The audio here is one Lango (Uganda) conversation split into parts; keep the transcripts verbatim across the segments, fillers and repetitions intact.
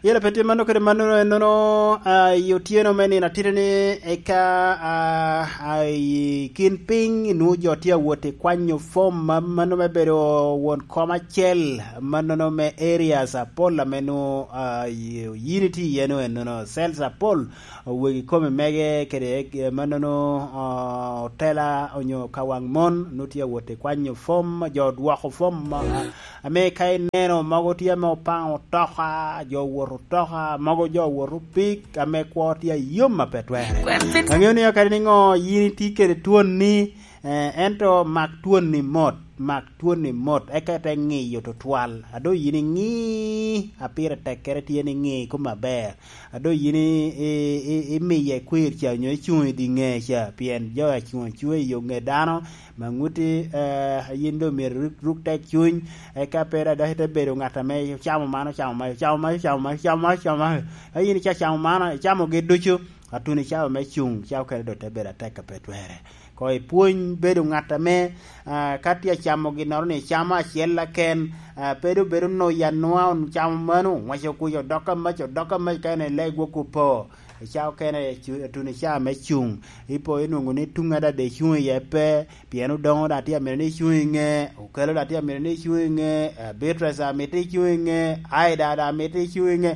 Yela pe tye mano kede mano, ennono, ah, i otyeno me nino atite ni eka, ah, ah, i kin piny, nwoŋo jo tye awot i kwanyo fom ma mano me bedo won kom acel, mannono me areas apol ame nwoŋo, ah, i-, yin itye iye no, ennono cells apol, wegi kome mege kede, eh, mannono, ah, otela onyo kawaŋ mon, nwoŋo tye awot i kwanyo fom, jo odwoko fom, ah, ame ka ineno mogo tye ame opaŋo otoka, jo owoto otoka, mogo jo owoto pik, ame kwo tye ayom a pe twerre. Aŋeo ni kadi niŋo yin itye kede twon-ni, eh, ento mak twon-ni mot, mak twon-ni mot, eka ite ŋiyo tutwal. A doŋ yin iŋi, a pire tekkere tye ni ŋi kome aber. A doŋ yin i-, i-, i-, imiye kwir ca onyo icuŋ i dye ŋe ca, pien jo a cuŋ acuŋa i yo ŋe dano, ma ŋuti, eh, yin doŋ myero ruk, ruk tek cuny, eka pe dok ite bedo ŋat ame ocamo man, ocamo man, ocamo man, ocamo man, ocamo man, ocamo man. A yin ica camo man, icamogi ducu, atuno icamo me cuŋ, ca okene doŋ te bedo atek a pe twerre. Koŋ ipwony bedo ŋat ame, ah, ka tye acamo ginnoro ni icamo acel aken, ah, pe doŋ bedo noya nwa, ocamo mano, oŋwaco kuc, odok amac, odok amac, ka en elego gwok opo. I ca okene, cu-, atuno icaa me cuŋ, ipo inwoŋo ni tuŋ adada icuŋ iye pe, pien Odoŋo daŋ tye amito ni icuŋ i ŋe, Okello daŋ tye amito ni icuŋ i ŋe, eh, Beatrice daŋ mito icuŋ i ŋe, Aida daŋ mito icuŋ i ŋe.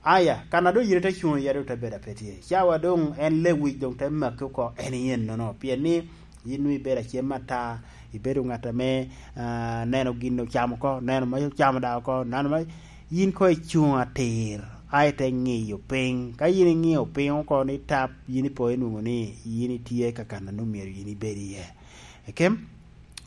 Aya, kan a doŋ yin ite cuŋ iye doŋ te bedo a pe tye. Cawa doŋ en lewic doŋ te maki oko, en i ennono, pien ni yin nwoŋo ibedo acem ata, ibedo ŋat ame, ah, neno gin ocamo oko, neno ma ocamo daŋ oko, neno ma, yin koŋ icuŋ atir, a ite ŋiyo piny. Ka yin iŋio piny oko ni tap, yin ipo inwoŋo ni yin itye ka kan a nwoŋo myero yin ibed iye. Ekem,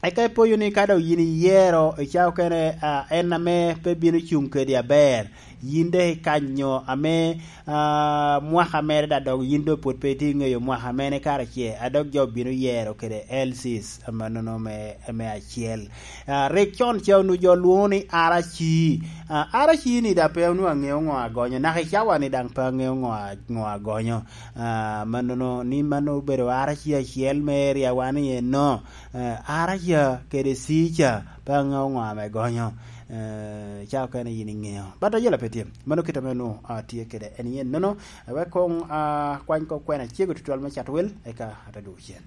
eka ipoyo ni ka doŋ yin iyero i cawa okene, ah, en ame pe bino cuŋ kedi aber, yin dok ikanyo ame, ah, mwaka mere daŋ dok yin doŋ pwod pe itye ŋeyo mwaka mene kare ce, a dok jo bino yero kede L Cs amannono me, me acel. Ah, rik con ca onwoŋo jo lwoŋo ni R C. Ah, R C ni daŋ pe onwoŋo aŋeo ŋo agonyo, naka i cawa ni daŋ pe aŋeo ŋo a-, ŋo agonyo. Ah, mannono, ni mano obedo R C acel me area wa ni enno. Eh, R C kede C ca, pe aŋeo ŋo ame gonyo. Eh, ca okene yin iŋeo. But ayela pe tye. Mano kit ame onwoŋo, ah, tye kede en yen nono. Wek koŋ, ah, kwany kop kwena cego tutwal me cat wel, eka ate dugo cen.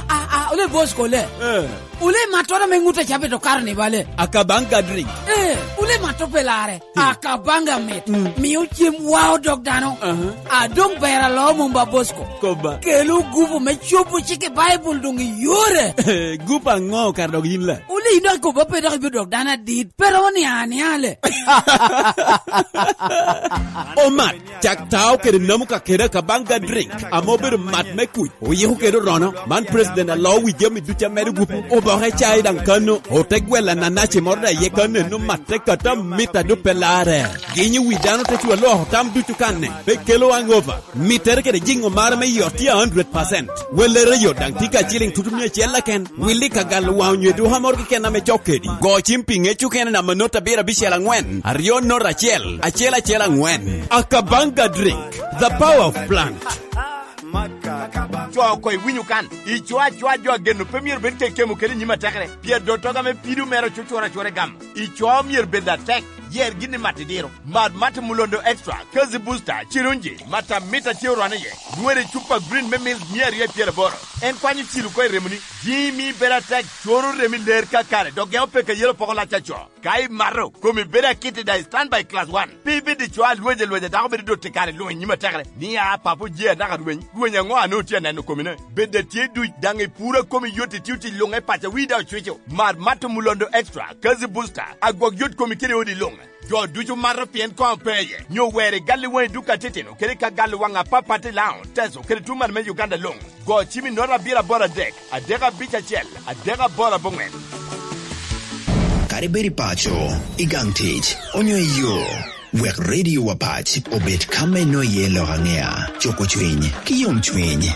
Ah, ah, ole boss kole. Eh. Ole matto ame ŋut a cabe to karo ni bale. Akabanga drink. Eh, ole matto pe lare. Akabanga mit. Mm. Mio cem wa odok dano. Aha. A doŋ ber alo mom ba Bosco. Koba. Kelo gupu me cobo cik i Baibul doŋ i yore. Gupu aŋo kara dok yin la? Wuli dok koba pe dok ibino dok dano adit. Pe romo ni aniale. Omat, cak tao kede namu ka kede Akabanga drink. Ame obedo mat me kuc. Oyiko kede orono. Man president alo wi jami ducu amedo gupu. Oboke cai daŋ kano. Ote gwela nanaci moro da ye kano eno mat. Te kata mit a doŋ pe larre. Ginyo wi dano te cwa lwoko tam ducu kanne. Pe kelo hangover. Mittere kede jiŋo mare me yot tye a hundred percent. Wellere yo daŋ tye ka ciliŋ tutu mia acel keken. Willi ka galo waŋ onyo eduka moro keken ame cok kedi. Go cim pi ŋec okene namba not abiro abicel angwen, aryo not acel, acel acel angwen. Akabanga drink, the power of plant. Co oko iwinyo kan. Ico acoa jo ageno pe myero bed kekemo kede i nyim atekere. Pien dottoga me pido mere ocucura acura i gamo. Ico myero bed atek. Yer gin i mat idiro. Mar mat Mulondo Extra, Kazi Booster, Cirunji, mat amita tye orwane iye. Dwere cupa green me milk mia aryo i pyeraboro. En kwanyo cilo oko i remoni. Jimi bedo atek, coro remi ler kakare, dok gemo peke yelo poko lac aco. Ka imato, komi bedo akit i daŋ i standby class one. Pe ibed i co alweny alweny a dako bedo dot i kare luŋ i nyim atekere. Ni a papo je anaka rweny, rweny aŋo a nwoŋo tye aneno komine? Bed atye duc, daŋ i puro a komi yot itio tic luŋ i paco wi daŋ ocwico. Mar mat Mulondo Extra, Kazi Booster, agwok yot komi kede odi luŋ. Jo ducu mato pien koŋ pe iye, nyo wer i gal i waŋ i duka titino, kede ka gal i waŋ apapat i Laŋo, Teso, kede tuŋ man me Uganda luŋ. Go cim i nota abiro aboro adek, adek abic acel, adek aboro aboŋwen. Kadi bed i paco, i gang tic, onyo i yo, wek Radio Wapac obed ka me nwoŋo iye lok aŋea, cuko cwiny, ki yomcwiny.